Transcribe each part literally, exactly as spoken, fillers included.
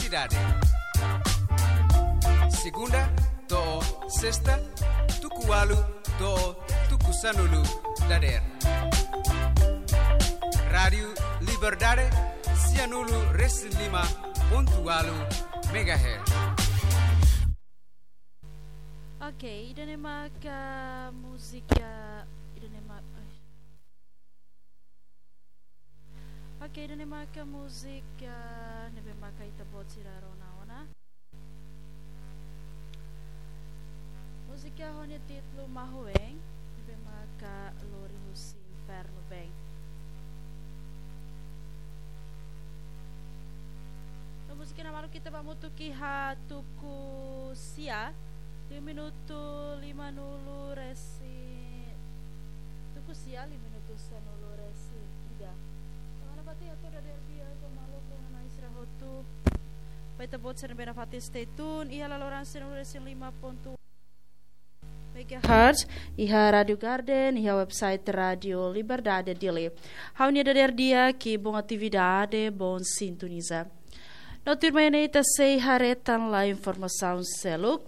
Dade. Segunda to'o sesta, tuku ualu to'o tuku sanulu dadeer. Rádiu Liberdade, sianulu resin lima pontu ualu megahertz. Oke, ida-ne'e maka múzika, ida-ne'e ma-, ai. Oke, ida-ne'e maka múzika ne'ebé maka ita-boot sira rona ona. Múzika ho nia títulu Mahuen, ne'ebé maka lori husi Infernu Been. No múzika ne'e maluk ita bá hamutuk iha tuku sia, liu minutu limanulu resin, tuku sia, liu minutu sanulu resin ida. Tanba ne'e fatin hato'o dadeer di'ak ba maluk rona-na'in sira hotu. Ba ita-boot sira ne'ebé nafatin stay tune iha laloran sianulu resin lima pontu megahertz, iha Rádiu Garden, iha website Rádiu Liberdade Dili. Ha'u-nia dadeer di'ak i bom atividade, bom sintoniza. No tuirmai ne'e ita sei haree tan lai informasaun seluk.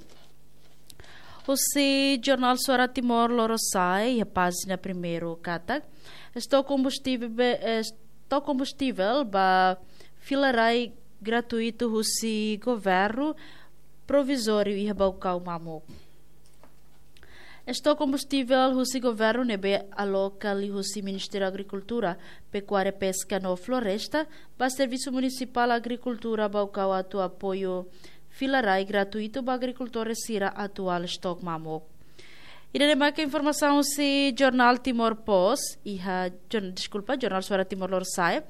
Husi Jornál Suara Timor Lorosa'e, iha pájina primeiru katak, estok kombustivel, estok kombustivel ba fila rai gratuitu husi governu provizóriu iha Baucau mamuk. Estok kombustivel husi governu ne'ebé aloka liuhusi Ministériu Agrikultura, Pekuária, Peska no Floresta, ba Servisu Munisipál Agrikultura Baucau atu apoiu fila rai gratuitu ba agrikultór sira atu halo estok mamuk. Ida-ne'e maka informasaun husi Jornál Timor Post, iha, jor-, deskulpa, Jornál Suara Timor Lorosa'e,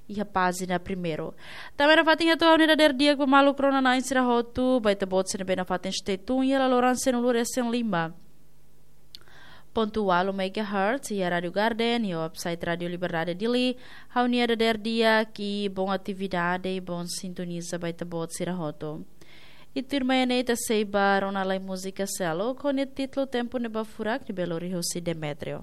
iha pájina primeiru. Tanba ne'e fatin hato'o ha'u-nia dadeer di'ak ba maluk rona-na'in sira hotu, ba ita-boot sira ne'ebé nafatin stay tune iha laloran sianulu resin lima pontu ualu megahertz, iha Rádiu Garden, iha website Rádiu Liberdade Dili, ha'u-nia dadeer di'ak i bom atividade i bom sintoniza ba ita-boot sira hotu. I tuirmai ne'e ita sei bá rona lai múzika seluk, ho nia títulu Tempu Ne'ebá Furak, ne'ebé lori husi Demetrio.